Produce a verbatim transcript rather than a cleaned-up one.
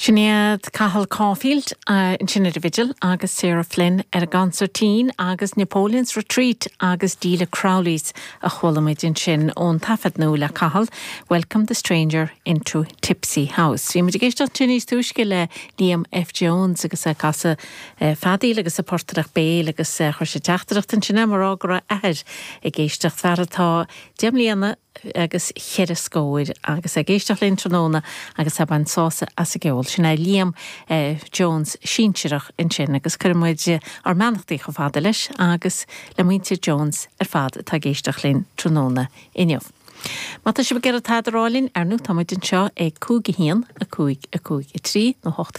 Sin iad Cathal Caulfield ansin ar an bhfidil agus Sarah Flynn ar an gconsairtín agus Napoleon's Retreat agus Delia Crowley's a chuala muid ansin ón taifead nua le Cathal, Welcome the Stranger into Tipsy House. Bhí muid ag éisteacht ansin níos túisce le Liam F. Jones agus ag casadh feadaíl agus ag portaireacht béil agus chuir sé teachtaireacht ansin mar go raibh a athair ag éisteacht fear atá deich mbliana agus cheithre scór agus ag éisteacht linn tráthnóna agus ag baint sásamh as an gceol. Sin é Liam eh, Jones sinsearach ansin agus cuirimid ár mbeannachtaí chomh fada leis agus le muintir Jones ar fad atá ag éisteacht linn tráthnóna inniu. Má tá sibh ag iarraidh tada a rá linn ar ndóigh táimid anseo ag cúig a haon a cúig a cúig a trí nó hocht